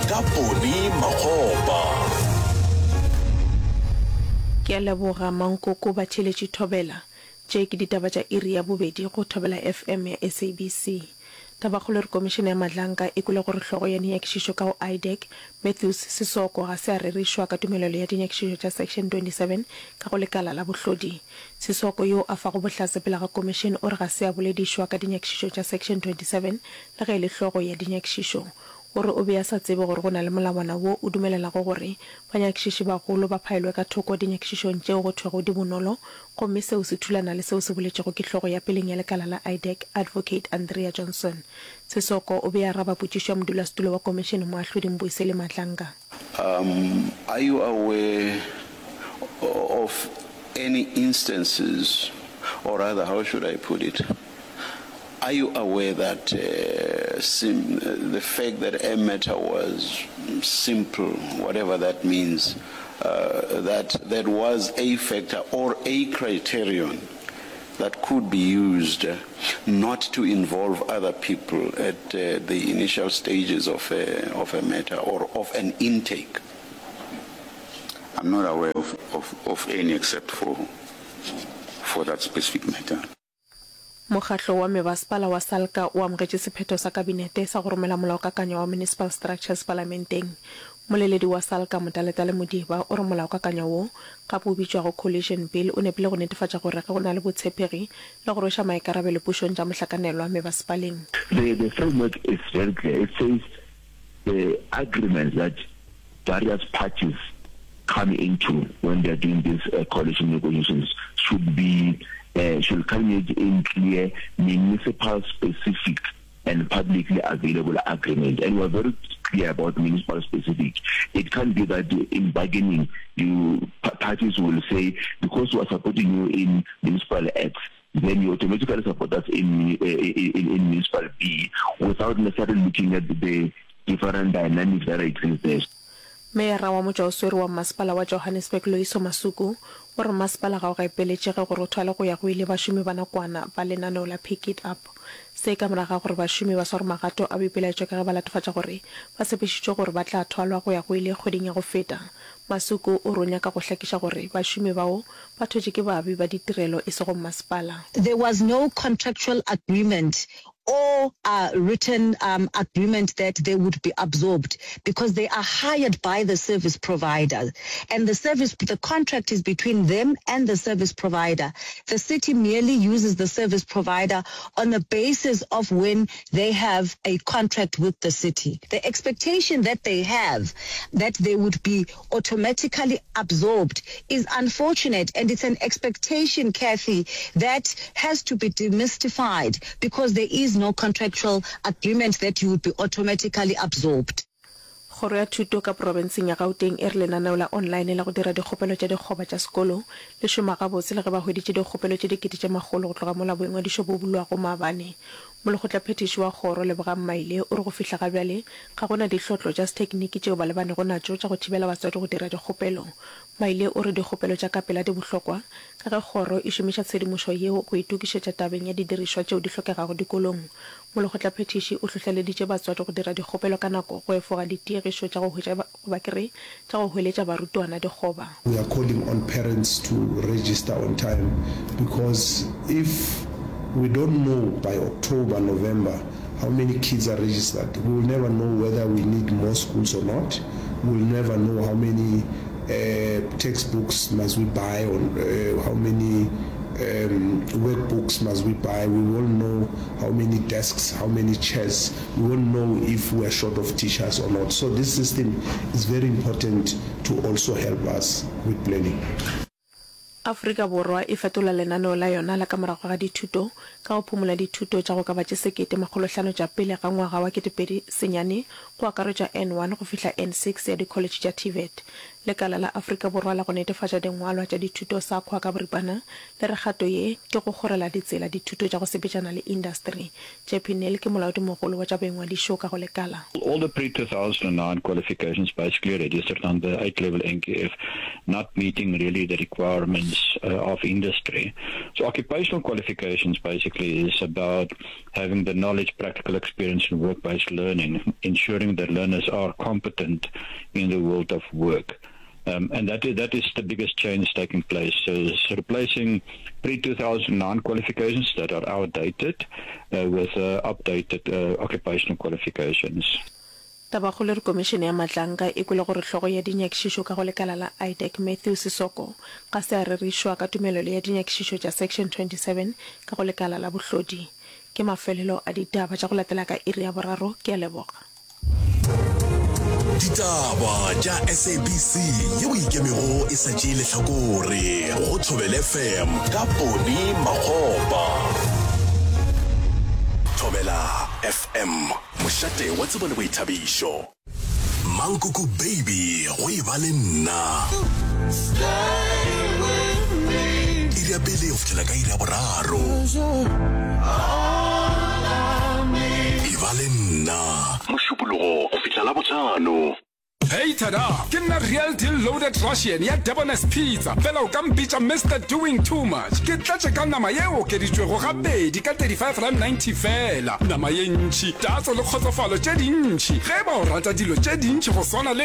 Ka Ponny Makgopa. Ke a leboga Mankoko Batheeletši Thobela. Tše ke ditaba tša iri ya bobedi go Thobela FM ya SABC. Tabakgolo e re Komišene ya Madlanka e kwele gore hlogo ya dinyakišišo ka go IDAC, Matthews Sesoko ga se a rerišwa ka tumelelo ya dinyakišišo tša Section 27 ka go lekala la bohlodi. Sesoko yo a fago bohlatse pele ga komišene o re ga se a boledišwa ka dinyakišišo tša Section 27 le ge e le hlogo ya dinyakišišo. O re o be a sa tsebe gore go na le molawana wo o dumelelago gore banyakišiši bagolo ba phaelwe ka thoko dinyakišišong tšeo go thwego di bonolo gomme seo se thulana le seo se boletšego ke hlogo ya peleng ya lekala la IDAC, Advocate Andrea Johnson. Sesoko o be a araba potšišo ya modulasetulo wa komišene Moahlodi Mbuyiseli Madlanga. Um, are you aware of any instances, or rather, how should I put it? Are you aware that uh, sim, the fact that a matter was simple, whatever that means, uh, that that was a factor or a criterion that could be used not to involve other people at uh, the initial stages of a, of a matter or of an intake? I'm not aware of, of, of any except for, for that specific matter. Mokgatlo wa Mebasepala wa SALGA o amogetše sephetho sa Kabinete sa go romela Molaokakanywa wa Municipal Structures Palamenteng. Mmoleledi wa SALGA Motaletale Modiba o re molaokakanywa wo, gape o bitšwago Coalition Bill, o nepile go netefatša gore ge go na le botshepegi le go rweša maikarabelo pušong tša mohlakanelwa mebasepaleng. The the framework is very clear, it says the agreements that various parties come into when they are doing these coalition negotiations should be should culminate in clear municipal specific and publicly available agreement and we are very clear about municipal specific. It can't be that in bargaining you parties will say because we are supporting you in municipal X then you automatically support us in, in, in municipal B without necessarily looking at the different dynamics that exist there. Meyara wa motšwaoswere wa Mmasepala wa Johannesburg Loyiso Masuku o re mmasepala ga o gapeletšege gore o thwale go ya go ile bašomi ba nakwana ba lenaneo la Pick It Up. Se ka morago ga gore bašomi ba sware magato a boipelaetšo ka ge ba latofatša gore ba tshepišitšwe gore ba tla thwalwa go ya go ile kgweding ya go feta. Masuku o re o nyaka go hlakiša gore bašomi bao ba thwetše ke baabi ba ditirelo e sego mmasepala. There was no contractual agreement or a written um, agreement that they would be absorbed because they are hired by the service provider and the service the contract is between them and the service provider. The city merely uses the service provider on the basis of when they have a contract with the city. The expectation that they have that they would be automatically absorbed is unfortunate and it's an expectation, Kathy, that has to be demystified because there is no contractual agreement that you would be automatically absorbed. Kgoro ya Thuto ka profenseng ya Gauteng e re lenaneo la online la go dira dikgopelo tša dikgoba tša sekolo le šoma gabotse le ge ba hweditše dikgopelo tše dikete tše makgolo go tloga mola boingwadišo bo bulwago maabane. Molekgotlaphethiši wa kgoro, Lebogang Maile, o re go fihla ga bjale ga go na dihlotlo tša sethekniki tšeo ba lebanego natšo tša go thibela batswadi go dira dikgopelo. Maile o re dikgopelo tša ka pela di bohlokwa ka ge kgoro e šomiša tshedimošo yeo go itokišetša tabeng ya didirišwa tšeo di hlokegago dikolong. Molekgotlaphethiši o hlohleleditše batswadi go dira dikgopelo ka nako go efoga ditiegišo tša go hwetša goba ke re tša go hweletša barutwana dikgoba. We are calling on parents to register on time because if we don't know by October, November how many kids are registered, we will never know whether we need more schools or not, we will never know how many textbooks must we buy or how many workbooks must we buy, we won't know how many desks, how many chairs, we won't know if we are short of teachers or not. So this system is very important to also help us with planning. Afrika Borwa e fetola lenaneo la yona la ka morago ga dithuto ka go phumola dithuto tša go ka ba tše 1500 tša pele ga ngwaga wa 2009 go akaretšwa N1 go fihla N6 ya dikholetšhe tša TVET. Lekala la Afrika Borwa la go netefatša dingwalwa tša dithuto SAQA ka boripana le re kgato ye ke go kgorela ditsela dithuto tša go sepetšana le indasteri. Jeppie Nel ke molaodimogolo wa tša boingwadišo ka go lekala. All the pre-2009 qualifications basically registered under 8 level NQF not meeting really the requirements of industry. So occupational qualifications basically is about having the knowledge, practical experience and work-based learning, ensuring that learners are competent in the world of work. Um, and that is, that is the biggest change taking place. So it's replacing pre-2009 qualifications that are outdated uh, with uh, updated uh, occupational qualifications. Tabakgolo e re Komišene ya Matlanka e kwele gore hlogo ya dinyakišišo ka go lekala la IDAC Matthew Sesoko ga se a rerišwa ka tumelelo ya dinyakišišo tša Section 27 ka go lekala la bohlodi. Ke mafelelo a ditaba tša go latela ka iri ya boraro. Ke a leboga. Ditaba tša SABC yeo e ikemego e sa tšee lehlakore go Thobela FM ka Poni Makgopa. Thobela FM. Mošate wa tsebo le boithabišo. Mankoko Baby go e ba le nna. Iri ya pele go fihlela ka iri ya boraro. E ba le nna. Mošupologo go fihla Labohlano. Hey tada! Ke nna Real Deal Loaded Russian ya Debonair's Pizza, fela o ka mpitša Mister Doing Too Much. Ke tletše ka nama ye e okeditšwego gabedi ka R35.90 feela. Nama ye ntši, tatso le kgotsofalo tše dintši. Ge e ba o rata dilo tše dintši go swana le.